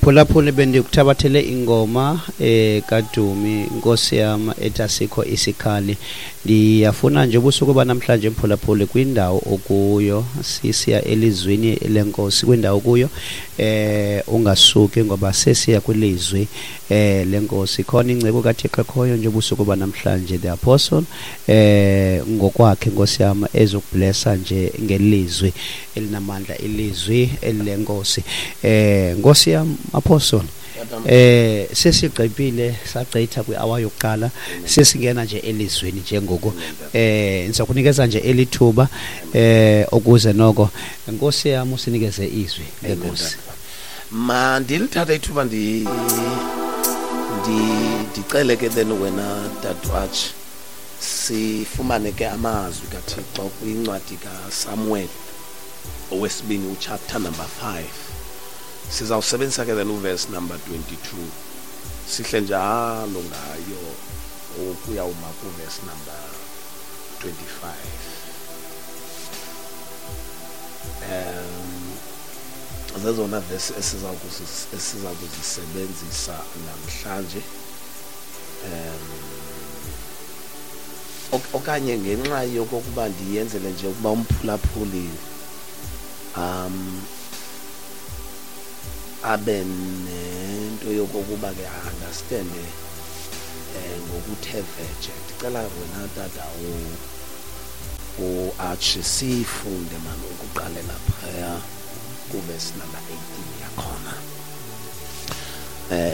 Phulaphula, bendikuthabathele ingoma kaDumi, Nkosi yam, ethi asikho isikhali. Ndiyafuna nje ubusuku banamhlanje, mphulaphuli, kwindawo okuyo, sisiya elizwini lenkosi. Kwindawo kuyo ungasuki, ngoba sesiya kwilizwi lenkosi. Khona ingcebo kaThixo ekhoyo nje ubusuku banamhlanje, the apostle ngokwakhe, Nkosi yam, ezokublessa nje ngelizwi elinamandla, ilizwi elilenkosi. Nkosi yam, apostle, sesigqibile, sagqitha kwi-hour yokuqala, sesingena nje elizwini njengoku. Ndizakunikeza nje elithuba ukuze noko, Nkosi yam, usinikeze izwi lenkosi. Ma ndilithathe ithuba ndicele ke then wena Dadwatch, sifumane ke amazwi kaThixo kwincwadi kaSamuel owesibini, uchapter number 5. Sizawusebenzisa ke then uverse number 22, sihle njalo ngayo ukuyawuma kuverse number 25. Zezona verse esiza kuzisebenzisa namhlanje, okanye ngenxa yokokuba ndiyenzele nje ukuba umphulaphuli abe nento yokokuba ke understande ngokuthe vetshe, ndicela wena tata uArch sifunde mani ukuqalela phaya kuverse number 18 yakhona,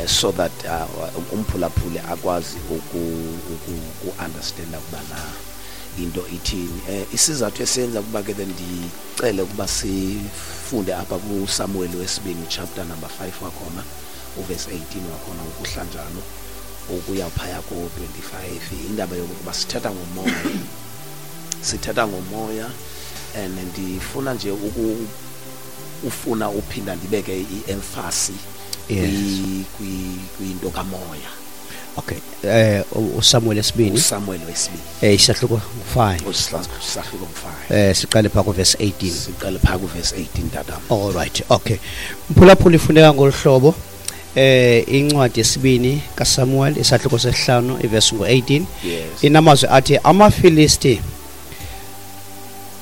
so that umphulaphuli akwazi uku understanda ukuba na into ithini. Isizathu esenza ukuba ke then ndicele ukuba sifunde apha kuSamuel wesibini chapter number 5 wakhona, uverse 18 wakhona, ukuhla njalo ukuya phaya ko-25, indaba yokuba sithetha ngomoya, sithetha ngomoya, and ndifuna nje ufuna uphinda ndibeke i-emphasis kwinto kamoya. Okay, uSamuel esibini. USamuel wesibini. Isahluko 5. Isahluko 5. Siqale pha kuverse 18. Siqale pha kuverse 18, tata. All right, okay. Mphulaphula, ifuneka ngolu hlobo. Incwadi yesibini kaSamuel, isahluko sesihlanu, iverse ngo-18. Inamazwi athi amaFilisti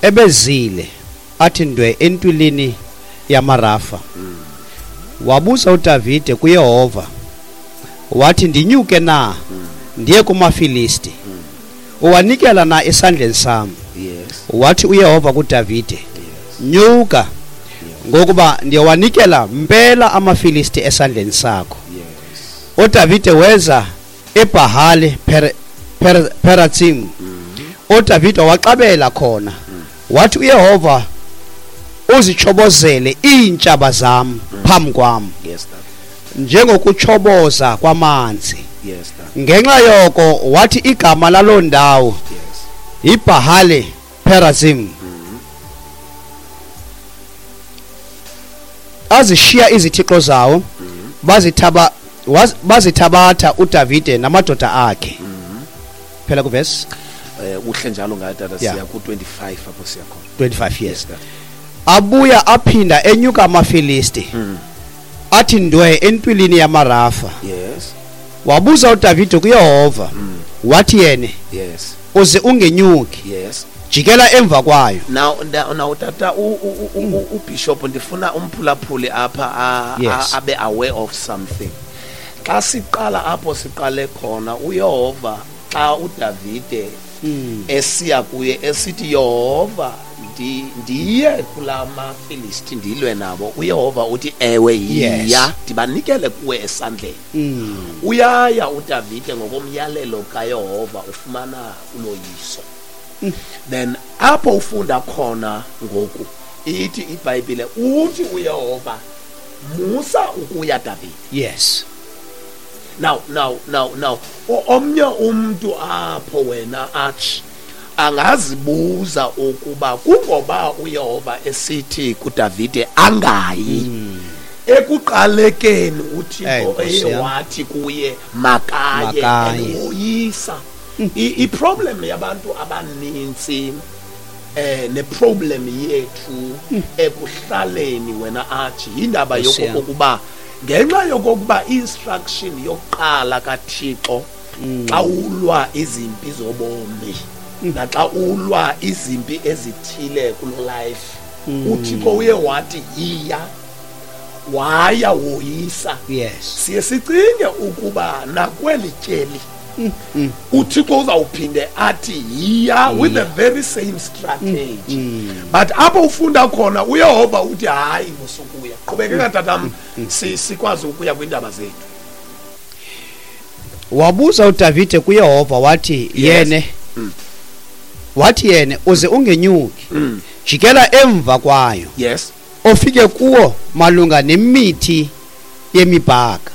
ebezile athi ndwe entwilini yamaRafa. Wabuza uDavide kuYehova wathi, "Ndinyuke na ndiye kumaFilisti? Uwanikela na esandleni sam?" Wathi uYehova kuDavide, "Nyuka, ngokuba ndiyawanikela mpela amaFilisti esandleni sakho." UDavide weza eBhahali Peratsim. UDavide waxabela khona. Wathi uYehova, "Uzichobozele iintshaba zam phambi kwam njengokuchoboza kwamanzi." Yes, tata. Ngenxa yoko wathi igama laloo ndawo iBhahali Perazim. Azishiya izithixo zawo, bazithabatha uDavide namadoda akhe. Phela kuverse Uhle njalo ngayo, tata. Siya ku-25 apho siya khona. 25, yes. Tata. Abuya aphinda enyuka amaFilisti athi ndwe entwilini yamaRafa. Wabuza uDavide kuYehova, wathi yena, "Uze ungenyuki, jikela emva kwayo." Now tata ubishop, ndifuna umphulaphuli apha abe aware of something. Xa siqala apho siqale khona, uYehova, xa uDavide esiya kuye esithi, "Yehova, ndiye kulaa maFilisti ndilwe nabo?" uYehova uthi, "Ewe, yiya, ndibanikele kuwe esandleni." Uyaya uDavide ngokomyalelo kaYehova, ufumana uloyiso. Then apho ufunda khona ngoku, ithi iBhayibhile, uthi uYehova, "Musa ukuya, Davide." Now omnye umntu apho wena athi angazibuza ukuba kungoba uYehova esithi kuDavide angayi, ekuqalekeni uThixo Hey, Nkosi eye yam. wathi kuye makaye, Makaye. and woyisa. I-problem yabantu abanintsi Ne-problem yethu ekuhlaleni wena athi yindaba yokokuba ngenxa yokokuba instruction yokuqala kaThixo xa ulwa izimpi zobomi naxa ulwa izimpi ezithile kulo life, uThixo uye wathi yiya, waya woyisa. Siye sicinge ukuba nakweli tyeli uThixo uzawuphinde athi yiya with the very same strategy. But apho ufunda khona uYehova uthi hayi, musukuya. Qhubekeka tatam, sikwazi ukuya kwiindaba zethu. Wabuza uDavide kuYehova wathi yene, wathi yene, uze ungenyuki, jikela emva kwayo, ofike kuwo malunga nemithi yemibhaka.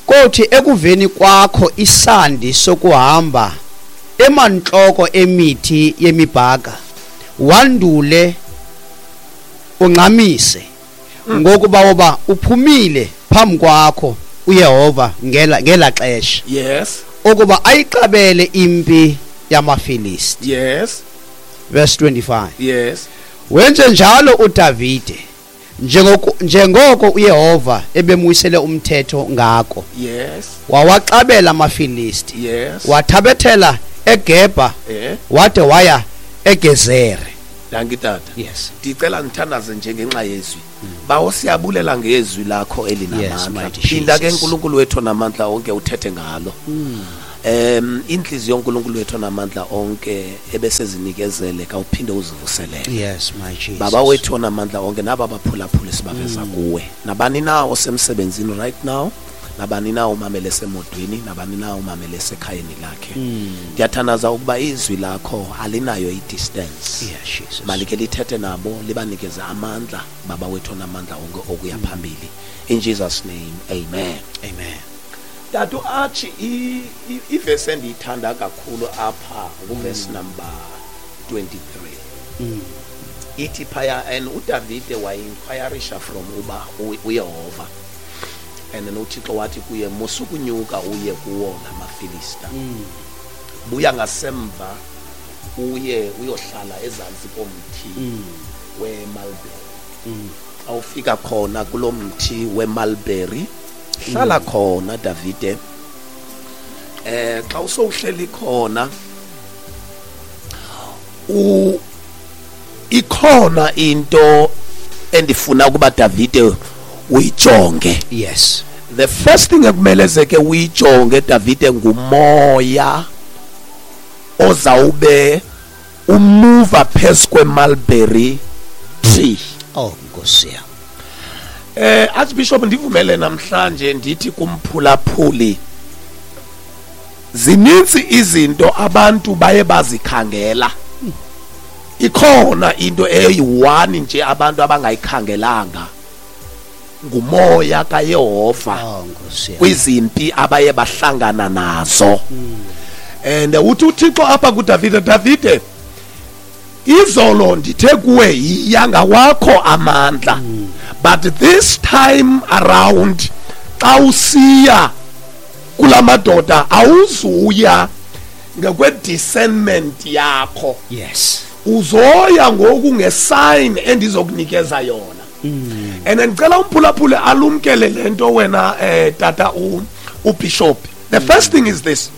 Kothi ekuveni kwakho isandi sokuhamba emantloko emithi yemibhaka, wandule ungxamise, ngokuba woba uphumile phambi kwakho uYehova ngela xesha. Ukuba ayixabele impi yamaFilisti. Verse 25. Wenze njalo uDavide njengoko uYehova ebemwisele umthetho ngako. Wawaxabela amaFilisti. Wathabethela eGebha, wade waya eGezere. Dankie tata. Ndicela ngithandaze nje ngenxa yezwi. Bawo, siyabulela ngezwi lakho elinamandla. Phinda ke uNkulunkulu wethu namandla onke uthethe ngalo. Inhliziyo yoNkulunkulu wethu namandla onke ebesezinikezele kawuphinde uzivuselele. Yes, my Jesus. Baba wethu namandla onke naba baphulaphula sibaveza kuwe. Nabani na osemsebenzini right now, nabani na umamele semodweni, nabani na umamele sekhayeni lakhe. Ndiyathandaza ukuba izwi lakho alinayo i-distance. Yes, Jesus. Malike lithethe nabo, libanikeze amandla, Baba wethu namandla onke okuya phambili. In Jesus name, amen. Amen. Tatu athi ivesi endiyithanda kakhulu apha nguvesi number 23. Ithi phaya, and uDavide wayi-inquirisha from uba uYehova. And then uThixo wathi kuye, musukunyuka uye kuwo lamaFilista. Buya ngasemva uye uyohlala ezantsi komthi we-mulberry. Xa ufika khona kulo mthi we-mulberry, hlala khona Davide. Xa usowuhleli khona ikhona into endifuna ukuba Davide uyijonge. The first thing ekumele ke uyijonge Davide ngumoya ozawube umuva phezu kwe-mulberry tree. Oh, Nkosi yam. Archbishop, ndivumele namhlanje ndithi kumphulaphuli, zininzi izinto abantu baye bazikhangela. Ikhona into eyi-one nje abantu abangayikhangelanga, ngumoya kaYehova. Oh, Nkosi yam. Kwizimpi abaye bahlangana nazo. And uthi uThixo apha kuDavide, Davide, izolo ndithe kuwe yiya ngawakho amandla, but this time around xa usiya kulamadoda awuzuya ngokwe-discernment yakho. Uzoya ngoku nge-sign endizokunikeza yona. And ndicela umphulaphule alumkele le nto wena, tata uBishop. The first thing is this.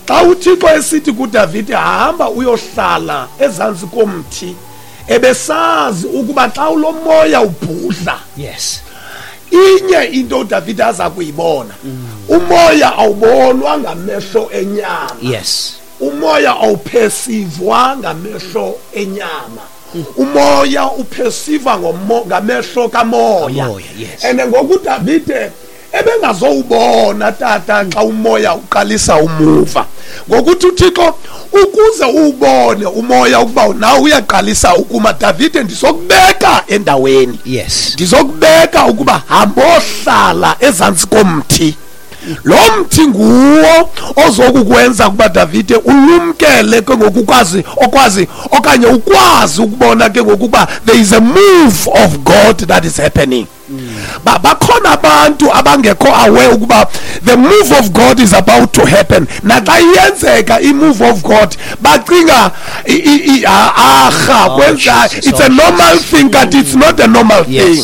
Xa uThixo esithi kuDavide hamba uyohlala ezantsi komthi, ebesazi ukuba xa ulomoya ubhudla, inye into uDavide aza kuyibona, umoya awubonwa ngamehlo enyama. Umoya awuphesivwa ngamehlo enyama. Umoya uphesiva ngamehlo kamoya. Kamoya, yes. And ngoku uDavide ebengazowubona tata xa umoya uqalisa umuva. Ngokuthi uThixo ukuze uwubone umoya ukuba nawe uyaqalisa ukuma, Davide ndizokubeka endaweni. Ndizokubeka ukuba hambohlala ezantsi komthi. Lo mthi nguwo ozokukwenza ukuba, Davide, ulumkele ke ngoku, ukwazi okwazi okanye ukwazi ukubona ke ngoku ukuba there is a move of God that is happening. Bakhona abantu abangekho aware ukuba the move of God is about to happen. Naxa iyenzeka i-move of God, bacinga aha, Oh, kwenza Jesus, it's oh, a normal Jesus. thing, kanti it's not a normal thing.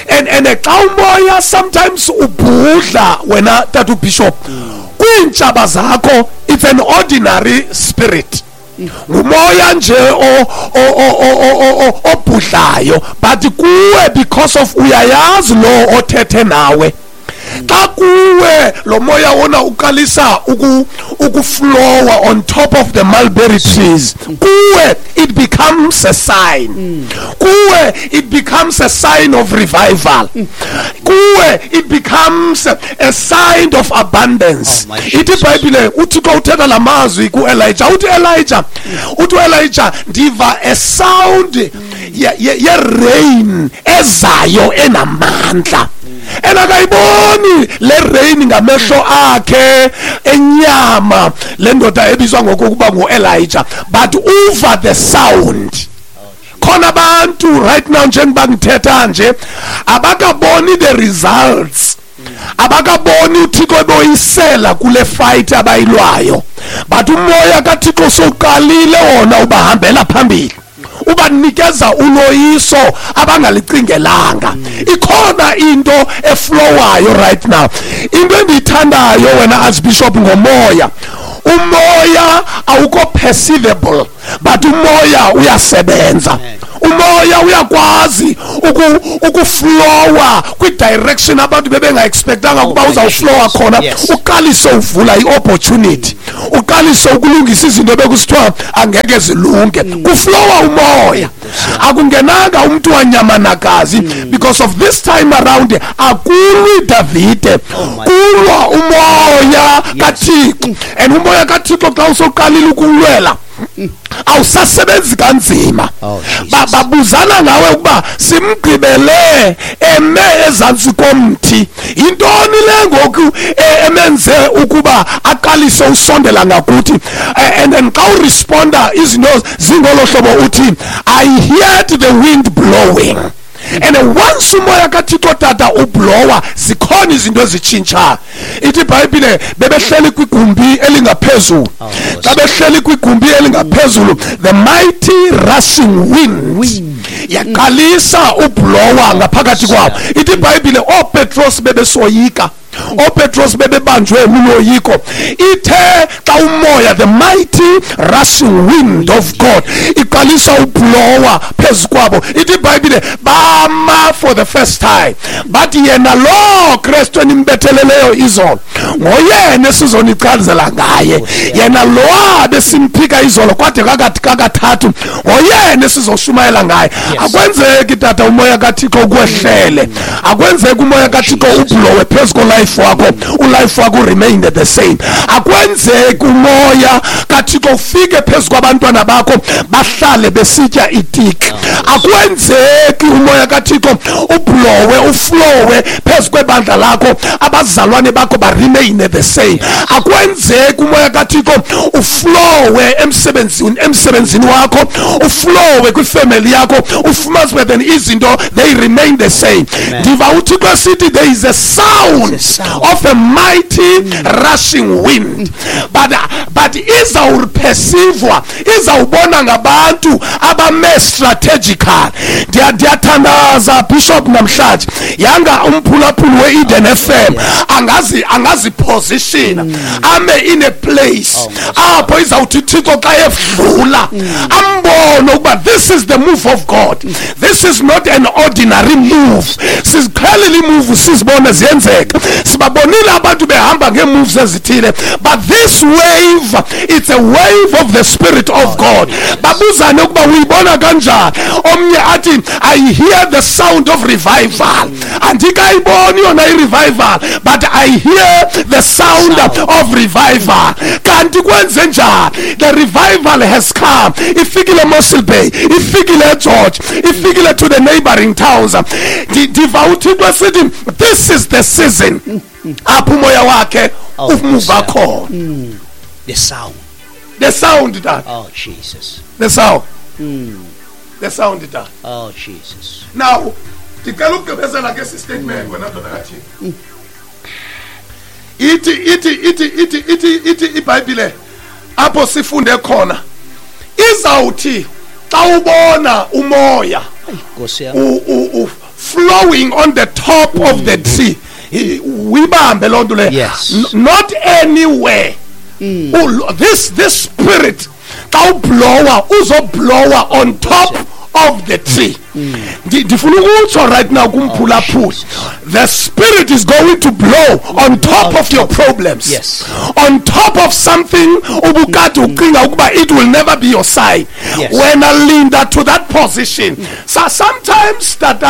And xa umoya sometimes ubhudla wena, tata ubishop, kwiintshaba zakho, it's an ordinary spirit, ngumoya nje obhudlayo, but kuwe, because of uyayazi lo othethe nawe, xa kuwe lo moya wona uqalisa ukuflowa on top of the mulberry trees, kuwe it becomes a sign. Kuwe it becomes a sign of revival. Kuwe it becomes a sign of abundance. Oh, my Ithi Jesus. iBhayibhile, uThixo uthetha la mazwi kuElijah, uthi Elijah, uthi uElijah, "Ndiva a sound ye-rain ezayo enamandla." And akayiboni le rain ngamehlo akhe enyama le ndoda ebizwa ngokuba nguElijah, but uva the sound. Khona abantu right now, njengoba ngithetha nje, abakaboni the results, abakaboni uThixo eboyisela kule fight abayilwayo, but umoya kaThixo sowuqalile wona ubahambela phambili, ubanikeza uloyiso abangalicingelanga. Ikhona into eflowayo right now. Into endiyithandayo wena, Archbishop, ngomoya, umoya awukho perceivable, but umoya uyasebenza. Umoya uyakwazi ukuflowa kwi-direction abantu bebenga-expectanga ukuba my uzawuflowa Jesus. khona. Uqalise uvula i-opportunity, uqalise ukulungisa izinto bekusithiwa angeke zilunge. Kuflowa umoya, akungenanga umntu wanyamanakazi, because of this time around akulwi Davide, my kulwa umoya kaThixo. And umoya kaThixo xa usoqalile ukulwela, awusasebenzi kanzima. Oh, Jesus. Babuzana ngawe ukuba simgqibele eme ezantsi komthi, yintoni le ngoku emenze ukuba aqalise usondela ngakuthi? And then xa uresponda izinto zingolo hlobo, uthi, "I heard the wind blowing." And once umoya kaThixo, tata, ublowa, zikhona izinto ezitshintshayo. Ithi iBhayibhile bebehleli kwigumbi elingaphezulu. Oh, Xa behleli kwigumbi elingaphezulu, the mighty rushing wind yaqalisa ublowa ngaphakathi kwabo. Ithi iBhayibhile ooPetros bebesoyika, ooPetros bebebanjwe luloyiko. Ithe xa umoya, the mighty rushing wind of God, iqalisa ublowa phezu kwabo, ithi iBhayibhile bama for the first time, bathi, "Yena lo Kristu enimbetheleleyo izolo, ngoyena esizonichazela ngaye. Yena lowa besimphika izolo kwade kakathi kakathathu, ngoyena esizoshumayela ngaye." Akwenzeki, tata, umoya kaThixo ukwehlele, akwenzeki umoya kaThixo ublowe phezu kolife wakho, ulife wakho remain the same. Akwenzeki umoya kaThixo ufike phezu kwabantwana bakho, bahlale besitya itiki. Akwenzeki umoya kaThixo ublowe, uflowe phezu kwebandla lakho, abazalwane bakho baremain the same. Akwenzeki umoya kaThixo uflowe emsebenzini wakho, uflowe kwifamily yakho, ufumanise then izinto they remain the same. Ndiva uThixo esithi there is a sound of a mighty rushing wind, but izawuperceivwa, izawubona ngabantu abame strategical. Ndiyathandaza, Bishop, namhlanje yanga umphulaphuli we-Eden FM angazipositiona, ame in a place apho izawuthi Thixo xa edlula ambone ukuba this is the move of God, this is not an ordinary move. Siziqhelile imove, sizibone ziyenzeka, sibabonile abantu behamba ngeemoves ezithile, but this way wave, it's a wave of the Spirit of God. Babuzane ukuba uyibona kanjani. Omnye athi I hear the sound of revival. Andikayiboni yona i-revival, but I hear the sound of revival. Kanti kwenze njani? The revival has come. Ifikile Mossel Bay, ifikile George, ifikile to the neighboring towns. Ndiva uThixo esithi this is the season apho umoya wakhe umuva khona. The sound. The sound that. Oh Jesus. The sound. The sound that. Oh Jesus. Now, ndicela ukugqibezela ke esi statement wena ndoda kaThixo. Ithi ithi ithi ithi ithi ithi iBhayibhile apho sifunde khona izawuthi xa ubona umoya flowing on the top of the tree, uyibambe loo nto leyo. Yes. Not anywhere. This spirit xa ublowa uzoblowa on top of the tree. Ndifuna ukutsho right now kumphulaphuli, the spirit is going to blow on top of your problems. Yes. On top of something ubukade ucinga ukuba it will never be your side. Yes. Wena linda to that position. So sometimes that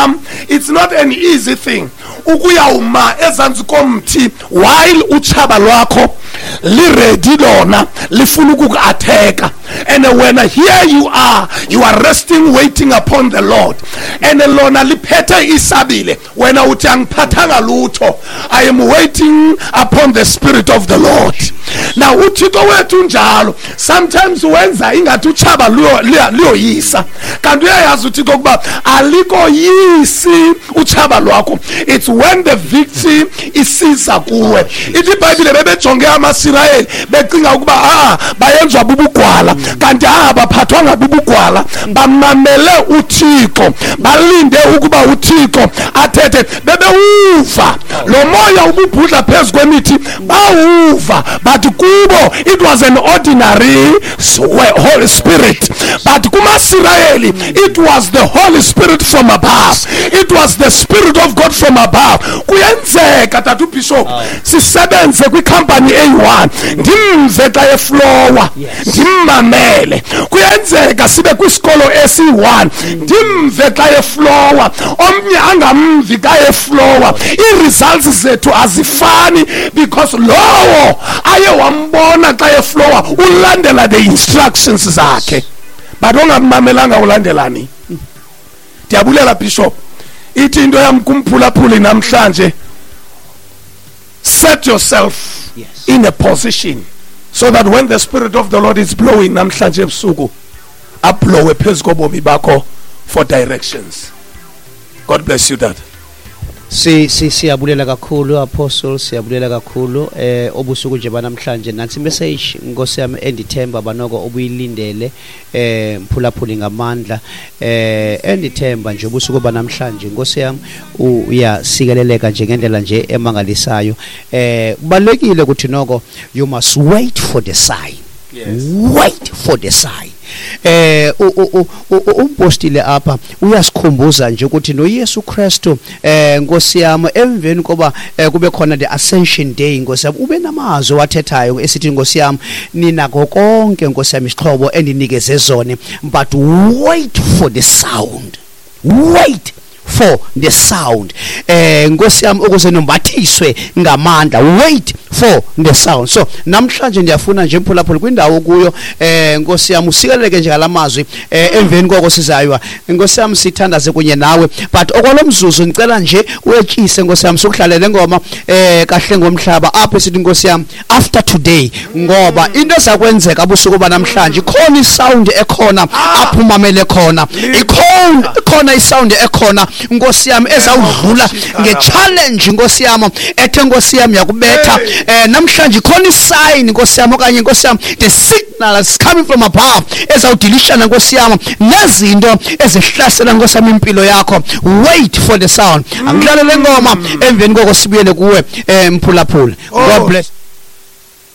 it's not an easy thing ukuyawuma ezantsi komthi while utshaba lwakho liredi lona lifuna ukuku-atheka, and when here you are resting, waiting upon the Lord, and lona liphethe isabile, wena uthi angiphathanga lutho, I am waiting upon the Spirit of the Lord. Now uThixo wethu njalo sometimes wenza ingathi utshaba luyoyisa, kanti uyayazi uThixo ukuba alikoyisi utshaba lwakho. It's when the victory isiza kuwe. Ithi iBhayibhile bebejonge amaSirayeli becinga ukuba bayenzwa bubugwala, kanti baphathwanga bubugwala, bamamele uThixo, balinde ukuba uThixo athethe. Bebewuva lo moya ububhudla phezu kwemithi, bawuva, but kubo it was an ordinary Holy Spirit, but kumaSirayeli it was the Holy Spirit from above. It was the Spirit of God from above. Kuyenzeka tata uBishop sisebenze kwikhampani eyi-1, ndimve xa eflowa, ndimmamele. Kuyenzeka sibe kwisikolo esi-1, ndimve xa eflowa, omnye angamvi xa eflowa. Ii-results zethu azifani because lowo aye wambona xa eflowa ulandela the instructions zakhe, but ongammamelanga ulandelani. Ndiyabulela Bishop. Ithi into yam kumphulaphuli namhlanje, set yourself in a position so that when the Spirit of the Lord is blowing namhlanje ebusuku, ablowe phezu kobomi bakho for directions. God bless you, Dad. Siyabulela kakhulu Apostle, siyabulela kakhulu obusuku nje banamhlanje. Nansi message Nkosi yami endithemba banoko obuyilindele mphulaphuli ngamandla, endithemba nje ubusuku banamhlanje Nkosi yami uyasikeleleka nje ngendlela nje emangalisayo. Kubalekile ukuthi noko you must wait for the sign. Yes. Wait for the sign. Umpostile apha uyasikhumbuza nje ukuthi noYesu Kristu Nkosi yami emveni koba kube khona the Ascension Day, Nkosi yami ube namazwi wathethayo esithi Nkosi yami ninako konke Nkosi yami isixhobo endinikeze zone, but wait for the sound. Wait for the sound. Nkosi yami ukuze nombathiswe ngamandla. Wait for the sound. So namhlanje ndiyafuna nje mphulaphula kwindawo kuyo Nkosi yami usikeleleke nje ngalamazwi emveni koko sizaywa. Nkosi yami sithandaze kunye nawe, but okwalomzuzu ngicela nje uyetshise Nkosi yami sokuhlalela ngoma kahle ngomhlaba apho sithi Nkosi yami after today, ngoba into ezakwenzeka ubusuku banamhlanje ikhona isound ekhona apho umamele khona, ikhona isound ekhona Nkosi yami ezawudlula nge-challenge Nkosi yami ethe Nkosi yami yakubetha. Namhlanje ikhona isign Nkosi yami okanye Nkosi yami the signal is coming from above ezawudilishana Nkosi yami nezinto ezihlasela Nkosi yami impilo yakho. Wait for the sound. Angidlale le ngoma emveni koko sibuyele kuwe mphulaphula. God bless.